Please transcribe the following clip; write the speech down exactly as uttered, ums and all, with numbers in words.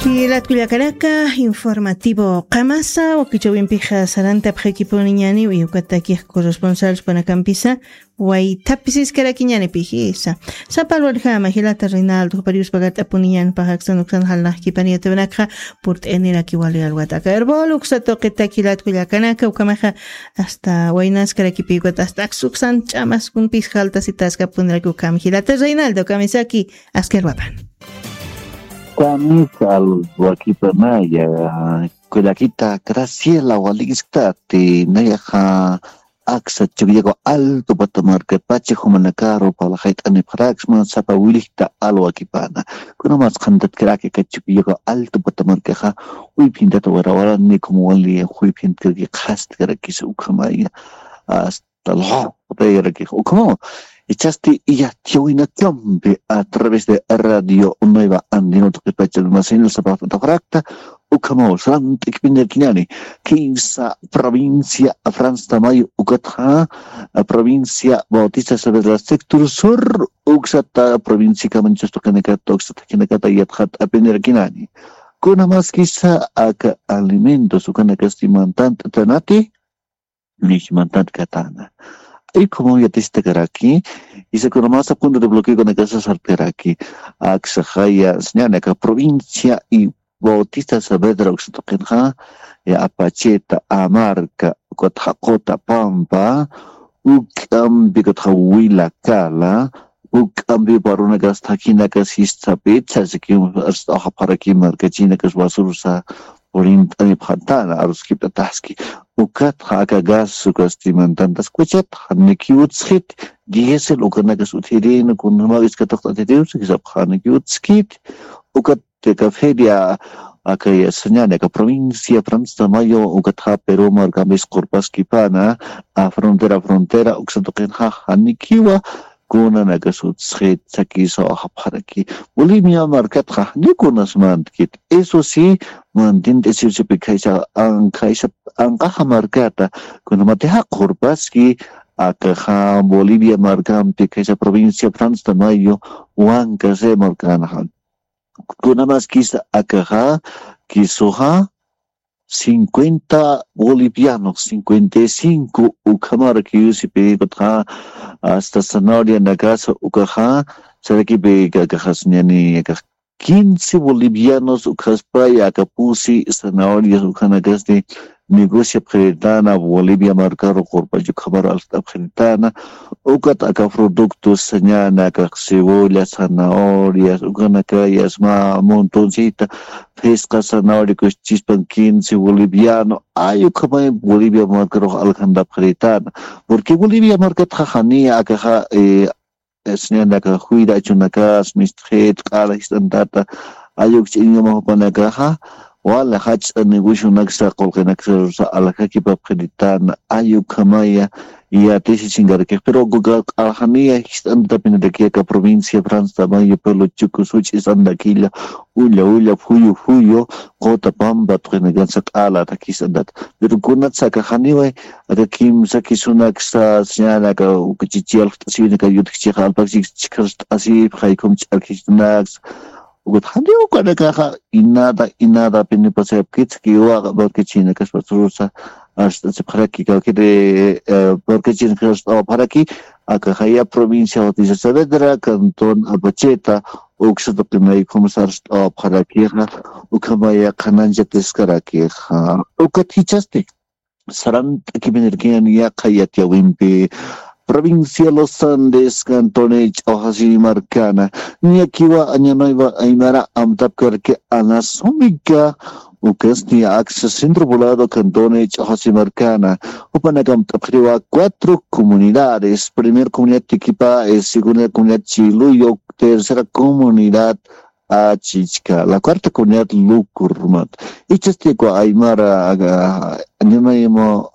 Jilat kullakanaka, informativo qamasa wakichawimpixa sarantapxakipuniñani, uyukatakix corresponsal panakampisa waytapisiskarakiñanipixisa. Sapalwarjama jilata Reinaldo jupariuspagat'apuniñanpaxaksan uksan jalnaxkipaniyatawanakxa purt'inirakiwali alwataka erbol uksatuqitaki jilat kullakanaka ukamaxa hasta waynaskarakipiwata hasta aksuksan ch'amaskumpis jaltasitaskapuniraki ukama jilata Reinaldo kamisaki. Askar wapan. Kamisal wakipanaya kullakita Graciela walikiskati nayaxa aksa chukllaku alto patamarka pacha jumanakaru palaxayt'anipxaraksma sapa wilikta alwakipana. Kunamas qhantatkaraki ka chukllaku alto patamarkaxa uyphintata warawara nikum wali juyphintkirki qhastkarakis ukhamaya. Hasta lxuqtayrakix ukhamaw. Ichasti iyatiyawinakampi a través de radio nueva andino tuqipachanma señal sapaqtataxrakta ukhamaw sant'ikpinirkinani. Kinsa provincia franz tamayo ukatxa provincia bautista saavedra sector sur uksata provincia kamañchus tuqinakata uksata jinakata yatxat'apinirkinani. Kunamaskisa aka alimentos ukanakasti mantant'atanati nishmantat katana. Ay como ya testakaraki, y se conoma sa punto de bloqueo con aka sasarkaraki. Aksa jaya señana aka provincia y Bautista Saavedra uksatuqinxa ya apacheta amarka ukatxa qota pampa uk'ampi ukatxa wila kala uk'ampi parunakas thakinakas jistapit sasiki arst'awxapxaraki markachinakas wasurusa purint'anipxatana aruskipt'ataski. Ukatxa aka gas ukasti mantantas kuchat janikiwutsxit diesel ukanakas uthirin kunjamaw iskataqt'atiriwsi jisapxa janikiwutskit. Ukat aka feria aka yasañani aka provincia franz tamayo ukatxa peru markampis qurpaskipana a frontera frontera uksatuqinxa janikiwa kunanakas utsxit sakisaw ajapxaraki. Bolivia markatxa janiw kunasmantkit eso si mantint'asiwsipi khaysa khaysa anqaxa markata kunamatixa qurpaski akaxa bolivia markampi khaysa provincia franz tamayo wankase markanaxa. Kunamaskisa akaxa kisuxa cincuenta bolivianos cincuenta y cinco ukhamara kiyusipirikutxa hasta zanahoria nakasa ukaxa sarakipi akaxas ñani akax quince bolivianos ukhaspaya akapusi zanahorias ukhanakasti negociap qhiritana bolivia markaru qurpachu ukhamara alxt'ap qhiritana. Ukat aka productos sañana akax cebolla zanahorias ukanakayas ma montoncita phisqa zanahoria kuschispan quince boliviano ay ukhamay bolivia markarux alxantap qhiritana. Porque bolivia markatxa janiya akaxa sañana aka juyra achunakas mistxit q'ala jist'antata ayuk ch'iñuma jupanakaxa wala jach'a negociunaksa qulqinaksa aljakipap qhiritana ay ukhamaya. Yatisi chinkarakix pero q'ala janiya jist'antatapiniraki aka provincia franz tamayo pelo chuku such'isandakilla ulla ulla phuyu phuyu qota pampa tuqinakansa q'ala atakisandata. Pero kunatsa aka janiway aka kimsa kisunaksa sañana aka uka chichi alxt'asiwinaka yutkchixa alpakchik chikharst'asipxa ikhum ch'arkhichtunaksa. Ukat janiw ukanakaxa inada inada pinipasayapkitsa kiwaqa markachinakas pasurusa arst'asipxaraki kawkiri markachinakas arst'awapxaraki. Aka jaya provincia Bautista Saavedra cantón Apacheta uksa tuqinaykhumsa arst'awapxarakixa. Ukhamaya qhananchatiskarakixa ukat jichhasti sarant'akipinirkiñan yaqha yatiyawimpi provincia Los Andes cantone ch'awjasi markana. Niyakiwa añanaywa aymara amtapkarki anasumika ukasti aksa centro volado cantone ch'awjasi markana. Jupanakam t'apxiriwa cuatro comunidades primer comunidad tikipa segunda comunidad chiluyo tercera comunidad achichka la cuarta comunidad lukurmat. Ichastikwa aymara añanayma aymara